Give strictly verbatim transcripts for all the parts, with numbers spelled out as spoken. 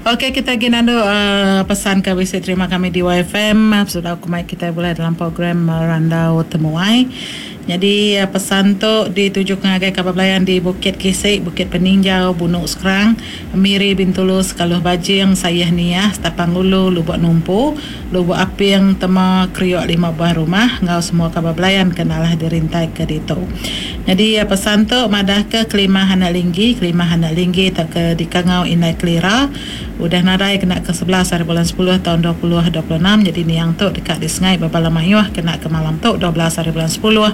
Okey kita agi nandu uh, pesan ke bisi terima kami di Y F M sudah aku mai kita boleh dalam program uh, Randau Temuai. Jadi uh, pesan tu ditujukan ngagai kaban belayan di Bukit Kisik, Bukit Peninjau, Bunuk Skrang, Miri Bintulu, Sekaluh Bajing, Sayah Niah, Stapang Ulu, Lubuk Numpu, Lubuk Aping, Tema, Kriok lima buah rumah ngau semua kaban belayan kenalah dirintai ke ditu. Jadi uh, pesan tu madah ke kelimah anak linggi, kelimah anak linggi tak ke dikangau Indai Kelira udah nadai kena ke sebelas hari bulan sepuluh tahun dua ribu dua puluh enam. Jadi niang tu dekat di Sengai Babala Mayuh kena ke malam tu dua belas hari bulan sepuluh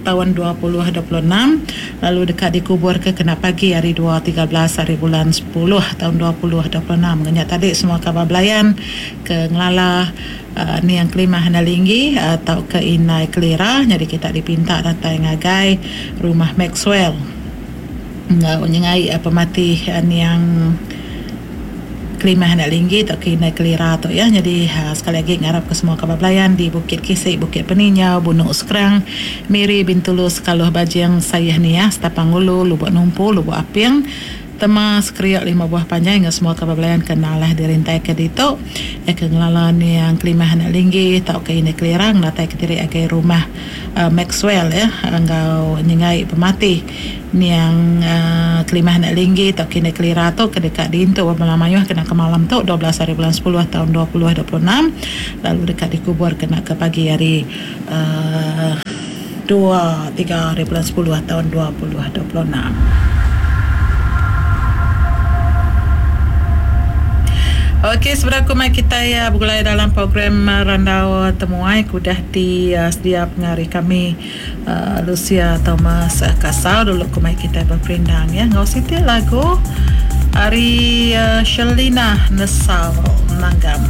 tahun dua ribu dua puluh enam, lalu dekat dikubur ke kena pagi hari dua tiga belas hari bulan sepuluh tahun dua ribu dua puluh enam. Ngenyak tadi semua kabar belayan ke ngelala uh, niang kelimah anak linggi atau uh, ke Indai Kelira. Jadi kita dipinta datai ngagai rumah Maxwell ngau nyengai uh, pemati uh, niang kelimah anak linggi atau ke Indai Kelira tu ya. Jadi ha, sekali lagi ngarap ke semua kabar belayan di Bukit Kisik, Bukit Peninjau, Bunuk Skrang, Miri Bintulu, Sekaluh Bajing, Sayah Niah, Stapang Ulu, Lubuk Numpu, Lubuk Aping, Tema Sekriak lima buah panjai dengan semua kabar belayan kenalah dirintai ke ditu ya ke ngelala ni yang kelimah anak linggi atau ke Indai Kelira datai ke diri agai rumah uh, Maxwell ya enggau nyengai pemati niang uh, kelimah anak linggi atau ke Indai Kelira tu ke dekat diintu malam mayuh kena ke malam tu dua belas hari bulan sepuluh tahun dua ribu dua puluh enam, lalu dekat dikubur kena ke pagi hari uh, dua tiga hari bulan sepuluh tahun dua ribu dua puluh enam. Okey, sebenarnya aku mai kita ya bergulai dalam program Randau Temuai kudah di uh, sedia pengari kami uh, Lucia Thomas uh, Kasau dulu ku mai kita berperindang ya. Ngau siti lagu ari uh, Shelina Nesal Nanggam.